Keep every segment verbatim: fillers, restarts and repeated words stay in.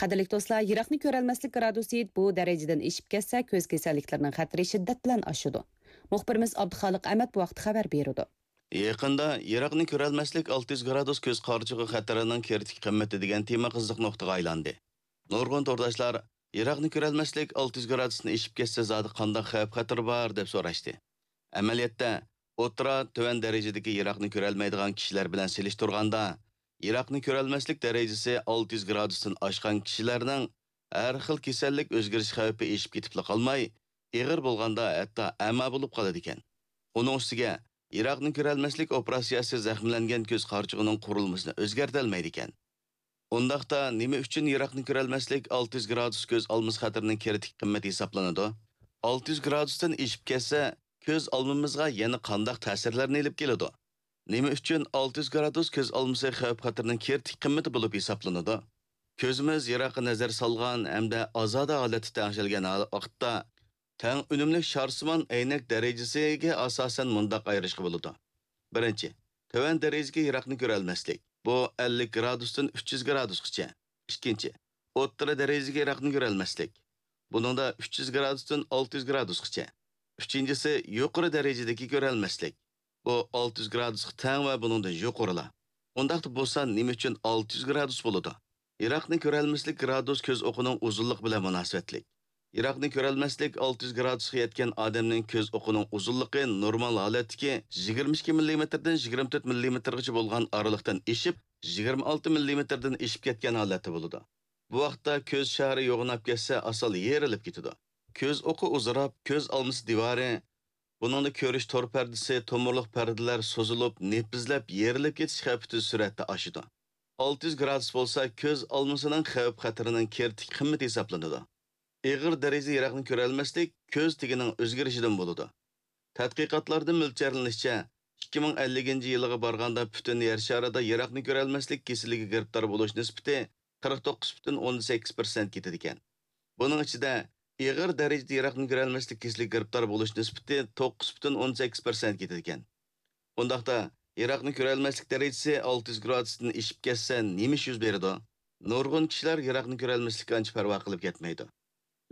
قەدىرلىك دوستلار، يىراقنى كۆرەلمەسلىك گرادۇسى بۇ دەرىجىدىن ئېشىپ كەتسە، كۆز كېسەللىكلىرىنىڭ خەتىرى شىددەت بىلەن ئاشىدۇ. مۇخبىرىمىز ئابدۇخالىق ئەمەت بۇ ھەقتە خەۋەر بېرىدۇ. يېقىندا يىراقنى كۆرەلمەسلىك ئالتە يۈز گرادۇس كۆز قارىچۇقى خەتىرىنىڭ كىرىتىك قىممىتى دېگەن تېما قىزىق نۇقتىغا ئايلاندى. نۇرغۇن تورداشلار يىراقنى كۆرەلمەسلىك ئالتە يۈز گرادۇستىن ئېشىپ كەتسە زادى قانداق خەۋپ خەتىرى بار دەپ سوراشتى. ئەمەلىيەتتە، ئوتتۇرا، تۆۋەن دەرىجىدىكى يىراقنى كۆرەلمەيدىغان كىشىلەر بىلەن سېلىشتۇرغاندا، يىراقنى كۆرەلمەسلىك دەرىجىسى ئالتە يۈز گرادۇستىن ئاشقان كىشىلەرنىڭ ھەر خىل كېسەللىك ئۆزگىرىش خەۋپى ئېشىپ كېتىپلا قالماي، ئېغىر بولغاندا ھەتتا ئەما بولۇپ قالىدىكەن. ئۇنىڭ ئۈستىگە، يىراقنى كۆرەلمەسلىك ئوپېراتسىيەسى زەخىملەنگەن كۆز قارىچۇقىنىڭ قۇرۇلمىسىنى ئۆزگەرتەلمەيدىكەن. ئۇنداقتا نېمە ئۈچۈن يىراقنى كۆرەلمەسلىك ئالتە يۈز گرادۇس كۆز ئالمىسى خەتىرىنىڭ كىرىتىك قىممىتى ھېسابلىنىدۇ؟ ئالتە يۈز گرادۇستىن ئېشىپ كەتسە، كۆز ئالمىمىزغا يەنە قانداق تەسىرلەرنى ئېلىپ كېلىدۇ؟ نېمە ئۈچۈن ئالتە يۈز گرادۇس كۆز ئالمىسى خەۋپ خەتىرىنىڭ كىرىتىك قىممىتى بولۇپ ھېسابلىنىدۇ؟ كۆزىمىز يىراققا نەزەر سالغان ھەمدە ئازادە ھالەتتە تەڭشەلگەن ھال-، ۋاقىتتا، تەڭ ئۈنۈملۈك شارسىمان ئەينەك دەرىجىسىگە ئاساسەن مۇنداق ئايرىشقا بولىدۇ. بىرىنچى، تۆۋەن دەرىجىدىكى يىراقنى كۆرەلمەسلىك. بۇ ئەللىك گرادۇستىن ئۈچ يۈز گرادۇسقىچە. ئىككىنچى، ئوتتۇرا دەرىجىدىكى يىراقنى كۆرەلمەسلىك. بۇنىڭدا ئۈچ يۈز گرادۇستىن ئالتە يۈز گرادۇسقىچە. ئۈچىنچىسى، يۇقىرى دەرىجىدىكى كۆرەلمەسلىك. بۇ ئالتە يۈز گرادۇسقا تەڭ ۋە بۇنىڭدىن يۇقىرىلا. ئۇنداقتا بولسا نېمە ئۈچۈن ئالتە يۈز گرادۇس بولىدۇ؟ يىراقنى كۆرەلمەسلىك گرادۇس كۆز ئوقىنىڭ ئۇزۇنلۇقى بىلەن مۇناسىۋەتلىك. يىراقنى كۆرەلمەسلىك ئالتە يۈز گرادۇسقا يەتكەن ئادەمنىڭ كۆز ئوقىنىڭ ئۇزۇنلۇقى نورمال ھالەتتىكى يىگىرمە ئىككى مىللىمېتىردىن يىگىرمە تۆت مىللىمېتىرغىچە بولغان ئارىلىقتىن ئېشىپ، يىگىرمە ئالتە مىللىمېتىردىن ئېشىپ كەتكەن ھالەتتە بولىدۇ. بۇ ۋاقىتتا كۆز شارى يوغىناپ كەتسە، ئاسانلا يېرىلىپ كېتىدۇ. كۆز ئوقى ئۇزىراپ، كۆز ئالمىسى دىۋارى، بۇنىڭدا كۆرۈش تور پەردىسى، تومۇرلۇق پەردىلەر سوزۇلۇپ، نېپىزلەپ، يېرىلىپ كېتىش خەۋپى تېز سۈرئەتتە ئاشىدۇ. ئالتە يۈز گرادۇس بولسا كۆز ئالمىسىنىڭ خەۋپ خەتىرىنىڭ كىرىتىك قىممىتى ھېسابلىنىدۇ. ئېغىر دەرىجىدە يىراقنى كۆرەلمەسلىك كۆز تېگىنىڭ ئۆزگىرىشىدىن بولىدۇ. تەتقىقاتلاردىن مۆلچەرلىنىشىچە، ئىككى مىڭ ئەللىكىنچى يىلىغا بارغاندا پۈتۈن يەر شارىدا يىراقنى كۆرەلمەسلىك كېسىلىگە گىرىپتار بولۇش نىسبىتى قىرىق توققۇز پۈتۈن ئوندىن سەككىز پىرسەنت كېتىدىكەن. بۇنىڭ ئىچىدە ئېغىر دەرىجىدە يىراقنى كۆرەلمەسلىك كېسىلىگە گىرىپتار بولۇش نىسبىتى توققۇز پۈتۈن ئوندىن سەككىز پىرسەنت كېتىدىكەن. ئۇنداقتا، يىراقنى كۆرەلمەسلىك دەرىجىسى ئالتە يۈز گرادۇستىن ئېشىپ كەتسە، نېمە ئىش يۈز بېرىدۇ؟ نۇرغۇن كىشىلەر يىراقنى كۆرەلمەسلىككە ئانچە پەرۋا قىلىپ كەتمەيدۇ.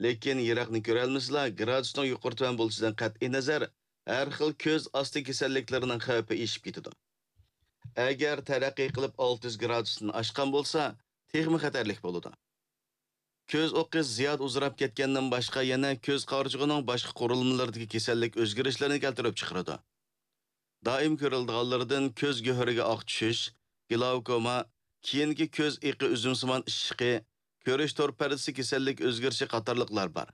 لېكىن يىراقنى كۆرەلمىسىلا، گرادۇسنىڭ يۇقىرى تۆۋەن بولۇشىدىن قەتئىينەزەر، ھەر خىل كۆز ئاستى كېسەللىكلىرىنىڭ خەۋپى ئېشىپ كېتىدۇ. ئەگەر تەرەققىي قىلىپ ئالتە يۈز گرادۇستىن ئاشقان بولسا، تېخىمۇ خەتەرلىك بولىدۇ. كۆز ئوقى زىيادە ئۇزىراپ كەتكەندىن باشقا، يەنە كۆز قارىچۇقىنىڭ باشقا قۇرۇلمىلىرىدىكى كېسەللىك ئۆزگىرىشلىرىنى كەلتۈرۈپ چىقىرىدۇ. دائىم كۆرۈلىدىغانلىرىدىن كۆز گۆھىرىگە ئاق چۈشۈش، گلاۋكوما، كېيىنكى كۆز ئېقى ئۈزۈمسىمان ئىششىقى، كۆرۈش تور پەردىسى كېسەللىك ئۆزگىرىشى قاتارلىقلار بار.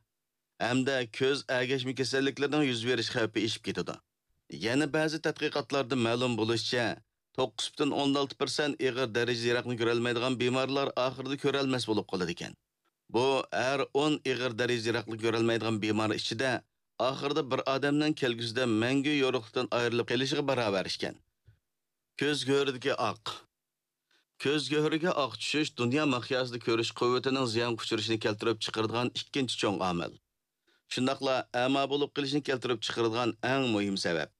ھەمدە كۆز ئەگەشمە كېسەللىكلىرىنىڭ يۈز بېرىش خەۋپى ئېشىپ كېتىدۇ. يەنە بەزى تەتقىقاتلاردا مەلۇم بولۇشىچە، توققۇز پۈتۈن ئوندىن ئالتە پىرسەنت ئېغىر دەرىجىدە يىراقنى كۆرەلمەيدىغان بىمارلار ئاخىرىدا كۆرەلمەس بولۇپ قالىدىكەن. بۇ ھەر ئون ئېغىر دەرىجىدە يىراقنى كۆرەلمەيدىغان بىمار ئىچىدە ئاخىرىدا بىر ئادەمنىڭ كەلگۈسىدە مەڭگۈ يورۇقلۇقتىن ئايرىلىپ قېلىشىغا باراۋەر ئىكەن. كۆز گۆھىرىدىكى ئاق. كۆز گۆھىرىگە ئاق چۈشۈش دۇنيا مىقياسىدا كۆرۈش قۇۋۋىتىنىڭ زىيانغا ئۇچرىشىنى كەلتۈرۈپ چىقىرىدىغان ئىككىنچى چوڭ ئامىل. شۇنداقلا ئەما بولۇپ قېلىشنى كەلتۈرۈپ چىقىرىدىغان ئەڭ مۇھىم سەۋەب.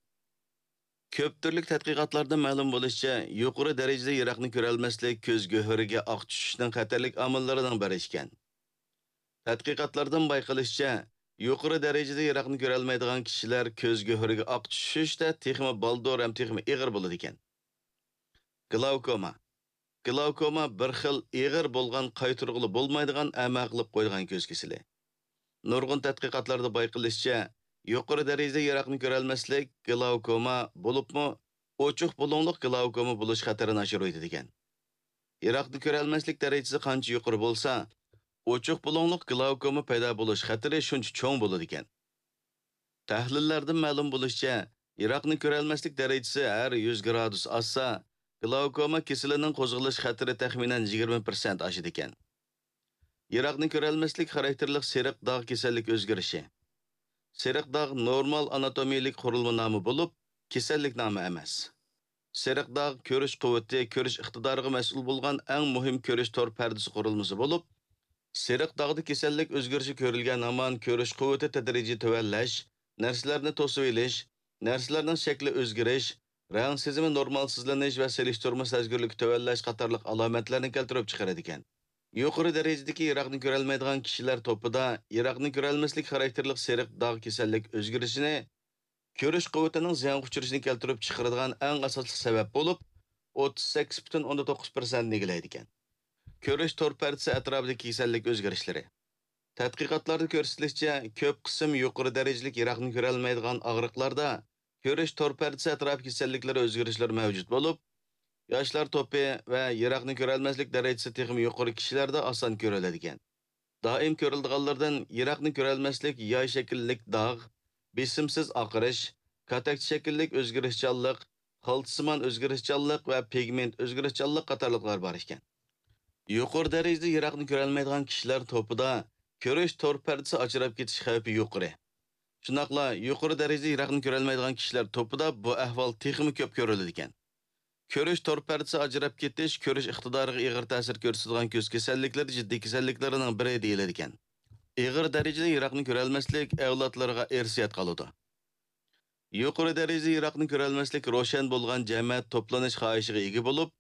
كۆپ تۈرلۈك تەتقىقاتلاردىن مەلۇم بولۇشىچە، يۇقىرى دەرىجىدە يىراقنى كۆرەلمەسلىك كۆز گۆھىرىگە ئاق چۈشۈشنىڭ خەتەرلىك ئامىللىرىنىڭ بىرى ئىكەن. تەتقىقاتلاردىن بايقىلىشىچە، يۇقىرى دەرىجىدە يىراقنى كۆرەلمەيدىغان كىشىلەر كۆز گۆھىرىگە ئاق چۈشۈشتە تېخىمۇ بالدۇر ھەم تېخىمۇ ئېغىر بولىدىكەن. گلاۋكوما. گلاۋكوما بىر خىل ئېغىر بولغان، قايتۇرغىلى بولمايدىغان ئەما قىلىپ قويىدىغان كۆز كېسىلى. نۇرغۇن تەتقىقاتلاردا بايقىلىشىچە، يۇقىرى دەرىجىدە يىراقنى كۆرەلمەسلىك گلاۋكوما، بولۇپمۇ ئوچۇق بۇلۇڭلۇق گلاۋكوما بولۇش خەتىرىنى ئاشۇرۇۋېتىدىكەن. يىراقنى كۆرەلمەسلىك دەرىجىسى قانچە يۇقىرى بولسا، ئوچۇق بۇلۇڭلۇق گلاۋكوما پەيدا بولۇش خەتىرى شۇنچە چوڭ بولىدىكەن. تەھلىللەردىن مەلۇم بولۇشىچە، يىراقنى كۆرەلمەسلىك دەرىجىسى ھەر يۈز گرادۇس ئاشسا، گلاۋكوما كېسىلىنىڭ قوزغىلىش خەتىرى تەخمىنەن يىگىرمە پىرسەنت ئاشىدىكەن. يىراقنى كۆرەلمەسلىك خاراكتېرلىق سېرىق داغ كېسەللىك ئۆزگىرىشى. سېرىق داغ نورمال ئاناتومىيەلىك قۇرۇلما نامى بولۇپ، كېسەللىك نامى ئەمەس. سېرىق داغ كۆرۈش قۇۋۋىتى، كۆرۈش ئىقتىدارىغا مەسئۇل بولغان ئەڭ مۇھىم كۆرۈش تور پەردىسى قۇرۇلمىسى بولۇپ، سېرىق داغدا كېسەللىك ئۆزگىرىشى كۆرۈلگەن ھامان كۆرۈش قۇۋۋىتى تەدرىجىي تۆۋەنلەش، نەرسىلەرنى توسۇۋېلىش، نەرسىلەرنىڭ شەكلى ئۆزگىرىش، رەڭ سېزىمى نورمالسىزلىنىش ۋە سېلىشتۇرما سەزگۈرلۈكى تۆۋەنلەش قاتارلىق ئالامەتلەرنى كەلتۈرۈپ چىقىرىدىكەن. يۇقىرى دەرىجىدىكى يىراقنى كۆرەلمەيدىغان كىشىلەر توپىدا يىراقنى كۆرەلمەسلىك خاراكتېرلىك سېرىق داغ كېسەللىك ئۆزگىرىشىنى كۆرۈش قۇۋۋىتىنىڭ زىيانغا ئۇچرىشىنى كەلتۈرۈپ چىقىرىدىغان ئەڭ ئاساسلىق سەۋەب بولۇپ، ئوتتۇز سەككىز پۈتۈن ئوندىن توققۇز پىرسەنتنى ئىگىلەيدىكەن. كۆرۈش تور پەردىسى ئەتراپىدىكى كېسەللىك ئۆزگىرىشلىرى. تەتقىقاتلاردا كۆرسىتىلىشىچە، كۆپ قىسىم يۇقىرى دەرىجىلىك يىراقنى كۆرەلمەيدىغان ئاغرىقلاردا كۆرۈش تور پەردىسى ئەتراپى كېسەللىكلىرى ئۆزگىرىشلىرى مەۋجۇت بولۇپ، ياشلار توپى ۋە يىراقنى كۆرەلمەسلىك دەرىجىسى تېخىمۇ يۇقىرى كىشىلەردە ئاسان كۆرۈلىدىكەن. دائىم كۆرۈلىدىغانلىرىدىن يىراقنى كۆرەلمەسلىك ياي شەكىللىك داغ، بېسىمسىز ئاقىرىش، كاتەكچە شەكىللىك ئۆزگىرىشچانلىق، خالتىسىمان ئۆزگىرىشچانلىق ۋە پىگمېنت ئۆزگىرىشچانلىق قاتارلىقلار بار ئىكەن. يۇقىرى دەرىجىدە يىراقنى كۆرەلمەيدىغان كىشىلەر توپىدا كۆرۈش تور پەردىسى ئاجراپ كېتىش خەۋپى يۇقىرى. شۇنداقلا يۇقىرى دەرىجىدە يىراقنى كۆرەلمەيدىغان كىشىلەر توپىدا بۇ ئەھۋال تېخىمۇ كۆپ كۆرۈلىدىكەن. كۆرۈش تور پەردىسى ئاجراپ كېتىش كۆرۈش ئىقتىدارىغا ئېغىر تەسىر كۆرسىتىدىغان كۆز كېسەللىكلىرى جىددىي كېسەللىكلىرىنىڭ بىرى دېيىلىدىكەن. ئېغىر دەرىجىدە يىراقنى كۆرەلمەسلىك ئەۋلادلىرىغا ئىرسىيەت قالىدۇ. يۇقىرى دەرىجىدە يىراقنى كۆرەلمەسلىك روشەن بولغان جەمەت توپلىنىش خاھىشىغا ئىگە بولۇپ،